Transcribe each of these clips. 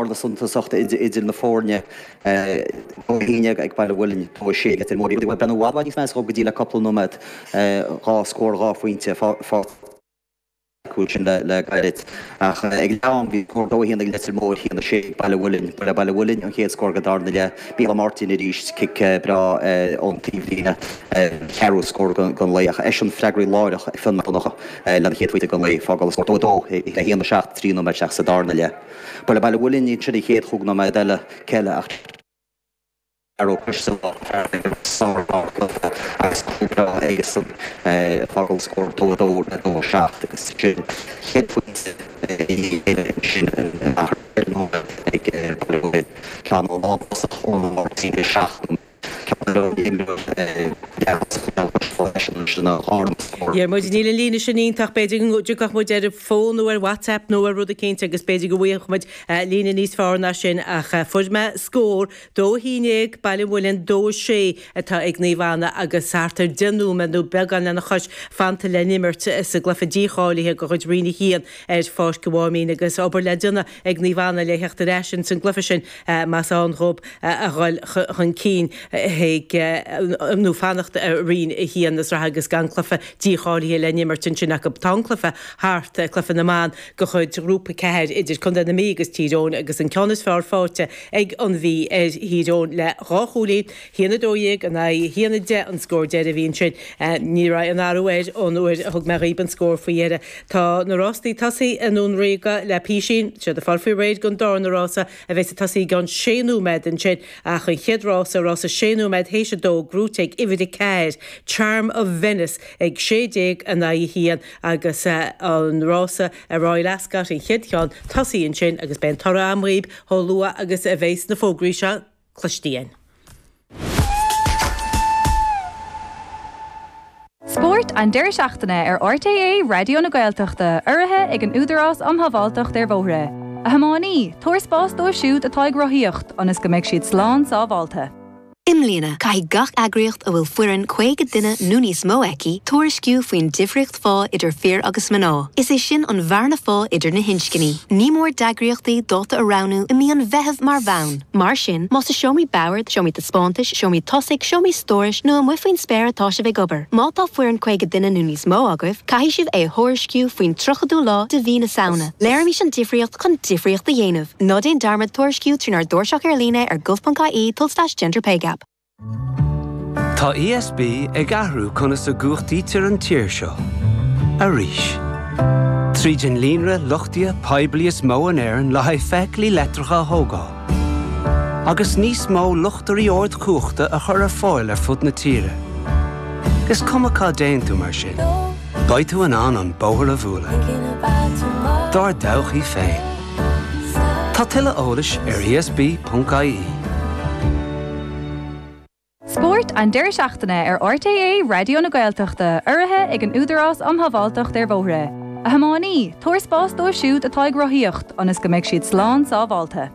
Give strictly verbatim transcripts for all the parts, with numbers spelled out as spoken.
Na suntasachta idir na foirne haon ag Baile Mhuilinn dó sé Leitir Móir. Ben bhd níos meas go dtí le cúpla nóiméad dhá scór dhá phointe fá sin le le gairid ach ag am bhí dó haon ag Leitir Móir haon sé Baile Mhuilinn le Baile Mhuilinn an chéad scór go darna leath Mícheál Martin arís cic breá ón taobhlíne ceathrú scór den lá ach eisean freagraí láithreach ag Fionn Mac Donncha lena chéad phointe den lá fágáil scór dó dó le haon seacht trí nóiméad isteach sa darna leath. Ba le Baile Mhuilinn iad sin an chéad chúig nóiméad eile ceile ach agus agus fágáil scór dó dó le dó seacht agus sin chéad phointe sin ag ceann ó lá Martin seacht. Diarmuid níl an líne sin iontach b'fhéidir go dtiocfadh muid ar an bhfón nó ar WhatsApp nó ar rud eicínt agus b'fhéidir go bhfuigheadh muid líne níos fearr ná sin ach fuair mé scór dó haon déag Baile Mhuilinn dó sé atá ag Naomh Anna agus thart ar deich nóiméad nó beagán lena chois fanta le n-imirt sa gcluiche dícháilithe de chuid Roinn a haon ar Pháirc an Mháimín agus obair le déanamh ag Naomh Anna le theacht ar ais ins an gcluiche sin más ann dhób a dhul chun cinn chuig nó fanacht i Roinn a haon na sraithe agus gan cluiche dícháilithe le n-imirt ansin acu. Tá an cluiche thart, cluiche na mban de chuid Ghrúpa ceathair idir Contae na Mí agus Tír Eoghain agus an ceann is fearr faighte ag an Mhí ar Thír Eoghain le dhá chúilín, haon a dó dhéag in aghaidh haon a deich an scór deiridh a bhí ansin. Ní raibh aon athrú air ón uair a thug mé dhaoib an scór faoi dheireadh. Tá na rástaí tosaithe i nDún Ríoga le písín, siad ag fáil faoi réir don darna rása a bheas ag tosaí i gceann sé nóiméad ansin ach an chéad rása, rása sé nóiméad théis a dó, gnóite ag uimhir a ceathair, Charm of Venice, ag sé déag in aghaidh a haon agus an rása i Royal Ascot, an chéad cheann, tosaithe ansin agus beidh an toradh agam dhaoib chomh luath agus a bheas na fógraí seo cloiste againn. Spórt an deireadh seachtaine ar RTÉ Raidió na Gaeltachta, urraithe ag an Údarás um Shábháilteacht ar Bhóithre. A thiománaí, tabhair spás dóibh siúd atá ag rothaíocht ionas go mbeidh siad slán sábháilte. I mbliana, caithfidh gach eagraíocht a bhfuil foireann caoga duine nó níos mó aici tuairisciú faoin difríocht phá idir fir agus mná. Is é sin an bhearna phá idir na hinscní. Ní mór d'eagraíochtaí dáta a roghnú i mí an Mheithimh mar bhonn. Mar sin, más i seomraí boird, seomraí taispeántais, seomraí tosaigh, seomraí stórais nó amuigh faoin spéir atá sibh ag obair. Má tá foireann caoga duine nó níos mó agaibh, caithfidh sibh é a thuairisciú faoin tríochadú lá de mhí na Samhna. Léirímis an difríocht chun difríocht a dhéanamh. Ná déan dearmad tuairisciú trínár dtairseach ar líne ar gov.ie tulslais gender pay gap. Tá ESB ag athrú conas a gcumhachtaítear an tír seo. Arís. Tríd an líonra luchtaithe poiblí is mó in Éirinn le haghaidh feithiclí leictreacha a thógáil. Agus níos mó luchtairí ardchumhachta a chur ar fáil ar fud na tíre. Is cuma cá dtéann tú mar sin. Beidh tú in ann an bóthar a bhualadh. Dár dtodhchaí féin. Tá tuilleadh eolais ar ESB.ie. Spórt an deireadh seachtaine ar RTÉ Raidió na Gaeltachta, urraithe ag an Údarás um Shábháilteacht ar Bhóithre. A thiománaí, tabhair spás dóibh siúd atá ag rothaíocht ionas go mbeidh siad slán sábháilte.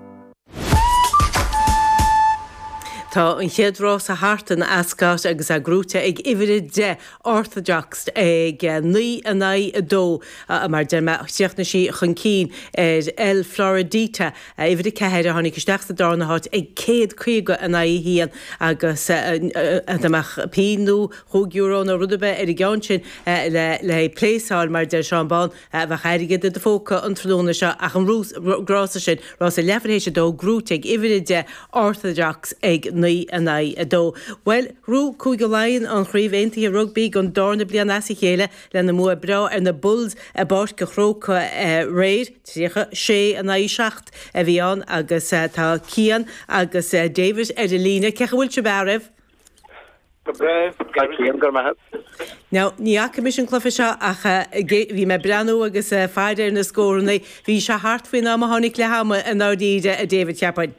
Tá an chéad rása thart in Ascot agus é gnóite ag uimhir a deich Orthodox ag naoi in aghaidh a dó mar deir mé chríochnaigh sí chun cinn ar El Floridita uimhir a ceathair a tháinig isteach sa darna háit ag céad caoga in aghaidh a haon agus dá mbeadh pingin nó chúig euro nó rud ar bith ar an gceann sin le le pléasáil mar deir Seán Bán bheadh airgead i do phóca an tráthnóna seo ach an rása sin rása leathuair théis a dó gnóite ag uimhir a deich Orthodox ag naoi in aghaidh a dó. Bhuel, ghnóthaigh Cúige Laighean an Chraobh Aontaithe Rugbaí don darna bliain as a chéile lena mbua breá ar na Bulls i bPáirc an Chrócaigh aréir, tríocha sé in aghaidh seacht a bhí ann agus tá Cian agus David ar an líne. Cén chaoi a bhfuil sibh a fhearaibh? Go breá, Cian, go raibh maith agat. Now, ní fhaca mise an cluiche seo ach bhí mé ag breathnú agus ag faire ar na scóranna. Bhí sé thart faoin am a tháinig leath ama i ndáiríre, a David, cheapfainn.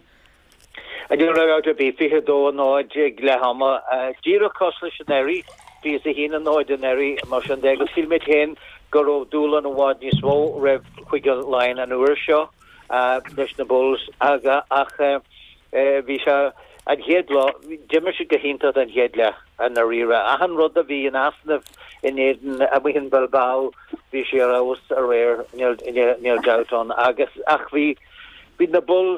Níl dabht ar bith, fiche a dó a náid ag leath ama, díreach cosúil leis anuraidh, fiche a haon a náid anuraidh, mar sin de, agus shíl muid féin go raibh dúshlán i bhfad níos mó roimh Chúige Laighean an uair seo leis na Bulls ach bhí sé an chéad lá, d'imir siad go hiontach don chéad leath i ndáiríre. Achan rud a bhí in easnamh in éadan amuigh in Bilbao, bhí sé ar fheabhas aréir, níl dabht ann, agus ach bhí Bhí na Bulls